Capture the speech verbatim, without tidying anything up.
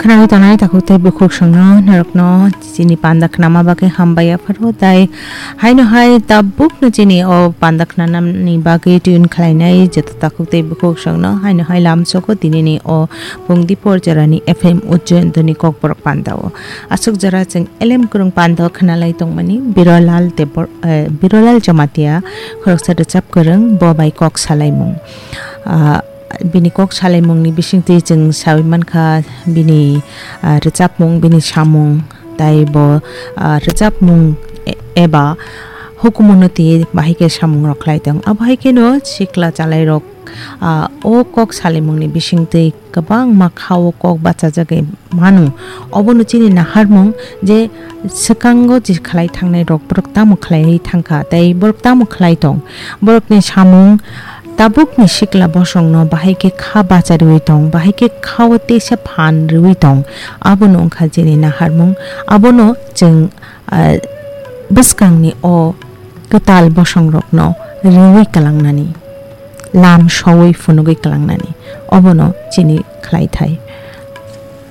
Khwnai tongnai takhuk tei bukhuk songno norokno chini panda khnama bagwi hambai yapharo, tai haino hai tabukno chini o panda khnanani bagwi tune khlainai joto takhuk tei bukhuk songno haino hai lamsogo dinini o Pungdi por jorani F M Ujjayan doni Kokborok panda o. Aswk jora chwng elem kwrwng panda o khwnalai tongmani Birolal Debor-, eh, Birolal Jamatia khoroksa rwchap kwrwng bo bai kok salaimung. Ah, bini kok salaimungni bisingtwi chwng sawi mankha bini, ah, rwchapmung, bini samung, tai bo, ah, rwchapmung e-, eba hukumunoti bahai khe samungrok khlai tong. Abo hai kheno sikla chalairok, ah, o kok salaimungni bisingtwi kwbangma kha-o kok bachajagwi mano. Obono chini naharmung je swkango je khlai thangnai rok borok tamo khlaiwi thangkha tei borok tamo khlai tong. Borokni samung tabukni sikla bosongno bahai khe kha bachariwi tong, bahai khe kha-o teisa phan riwi tong. Abono wngkha chini naharmung. Abono chwng, ah, bwskangni o kwtal bosongrokno riwi kwlangnani, lam sowi phunugwi kwlangnani, obono chini khlaithai.